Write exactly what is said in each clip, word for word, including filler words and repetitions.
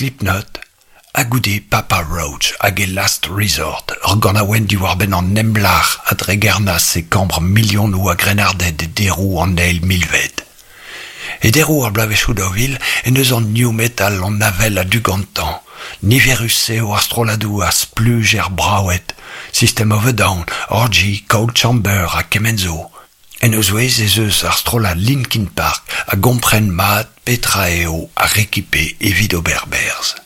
Slipknot, ha goude Papa Roach hag e Last Resort, ur ganaouenn diwar-benn an emlac'h a dregernas e kambr milionoù a grennarded e deroù an eil milved. E deroù ar bloavezhioù daou vil en deus an new metal an avel a-du gantañ. Niverus eo ar strolladoù a spluj er braoued, System of a Down, Orgy, Coal Chamber ha kement zo. En o zouez ez eus ar strollad Linkin Park a gompren mat petra eo ar rekipe evit ober berzh.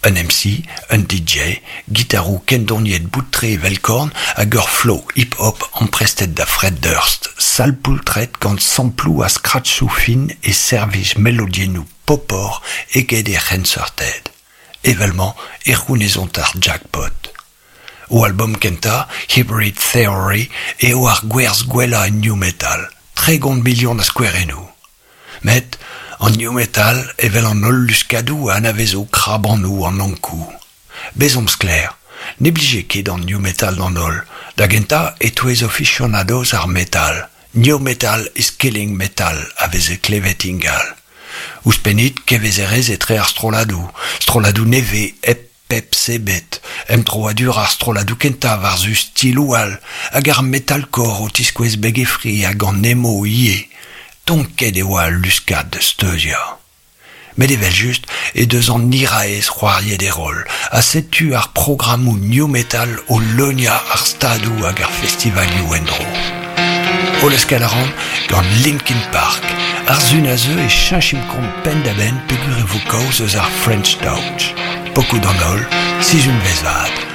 Un M C, un D J, gitaroù kendoniet bout-tre evel korn hag ur flow hip-hop amprestet da Fred Durst, sal-poultred gant samploù ha scratchoù fin e servij melodiennoù popor eget e c'henseurted. Evel-mañ e c'hounezont ar jackpot. O album kentañ, Hybrid Theory, eo ar gwerzh gwellañ en new metal, tregont milion a skouerennoù. Met an new metal evel an holl luskadoù a anavezo krabanoù an Ankou. Bezomp sklaer, ne blije ket an new metal d'an holl, da gentañ e-touez aficionados ar metal. New metal is killing metal a veze klevet ingal. Ouzhpennit kevezerezh etre ar strolladoù, strolladoù nevez hep pep sebet, emdroadur ar strolladoù kentañ war-zu stiloù all, hag ar metalcore o tiskouez beg e fri hag an emo ivez. Tonket e oa al luskad da steuziañ. Met evel-just e deus an hiraez c'hoariet e roll, ha setu ar programmoù new metal o leuniañ ar stadoù hag ar festivalioù en-dro. O leuskel a ran gant Linkin Park, ar sun a zeu e cheñchimp kont penn-da-benn peogwir e vo kaoz eus ar French Touch. Pokoù d'an holl, sizhunvezh vat.